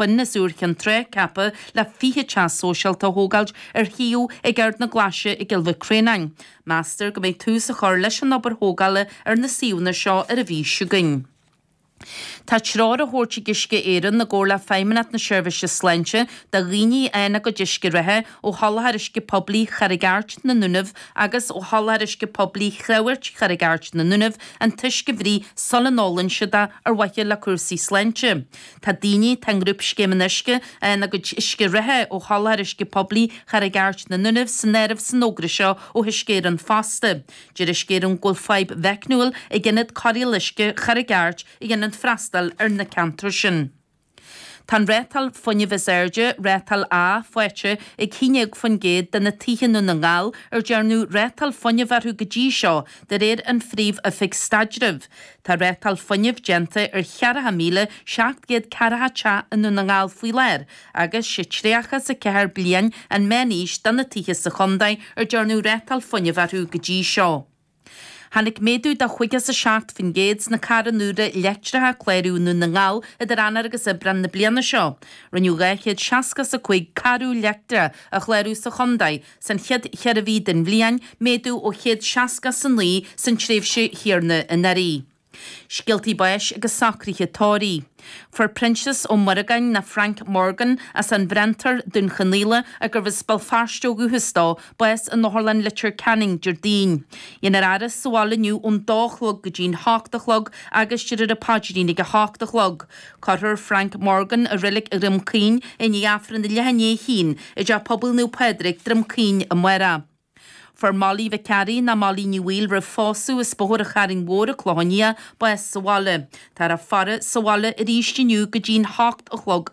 Binn as Iúr Chinn Trá ceaptha le 20 teach sóisialta a thógáilt ar shuíomh ag Ard na Glaise i gCill Mhic Réanáin. Meastar go mbeidh tús á chur leis an obair thógála ar na suíomhanna seo ar an mhí seo chugainn. Tá treoir á thabhairt ag Uisce Éireann i gcomhar le Feidhmeannacht na Seirbhíse Sláinte do dhaoine a fhaigheann a gcuid uisce reatha ó sholáthar uisce poiblí Charraig Airt na nDúnaibh agus ó sholáthar uisce poiblí Chreamhairt Charraig Airt na nDúnaibh an t-uisce a bhruith sula n-ólann siad é ar mhaithe le cúrsaí sláinte. Tá daoine atá i ngrúpscéim an uisce a fhaigheann a gcuid uisce reatha ó sholáthar uisce poiblí Charraig Airt na nDúnaibh san áireamh san fhógra seo ó Uisce Éireann fosta. Deir Uisce Éireann go bhfuil fadhb mheicniúil ag ionad cóireála uisce Charraig Airt a dhéanann freastal ar na ceantair sin. Tá an rátáil fuinnimh is airde, rátáil A, faighte ag 11% de na tithe i nDún na nGall ar dearnadh rátáil fuinnimh orthu go dtí seo, de réir an Phríomh-Oifig Staidrimh. Tá rátáil fuinnimh déanta ar 40,740 teach i nDún na nGall faoi láthair agus sé 34 bliain an meán-aois do na tithe sa chontae ar dearnadh rátáil fuinnimh orthu go dtí seo. Tháinig méadú de 57% sna carranna úra leictreacha a cláraíodh i nDún na nGall idir Eanáir agus Aibreán na bliana seo. Rinneadh 265 carr úr leictreach a chlárú sa chontae San chéad cheithre mhí den bhliain, méadú ó 169 san tréimhse chéanna anuraidh. Scéaltaí báis agus socruithe tórraimh. Fuair Proinsias Ó Muireagáin ná Frank Morgan as an bhFriontar, Dún Chonaill, gurbh as Béal Feirste ó dhúchas dó, bás in Otharlann Leitir Ceanainn Déardaoin. Dhéanfar a fhaire sa bhaile inniu ón dó a chlog go dtí'n hocht a chlog agus déarfar an paidrín ag a hocht a chlog. Cuirfear Frank Morgan i Reilig Dhroim Caoin i ndiaidh Aifreann a leath i ndiaidh a haon i dTeach Pobail Naomh Pádraig, Droim Caoin amárach. Fuair Molly Mhic Fhearraigh ná Molly Ní Bhaoill roimh phósadh as Bóthar an Chairn Mhóir an Clochán Liath, bás sa bhaile. Táthar á faire sa bhaile arís inniu go dtí'n hocht a chlog.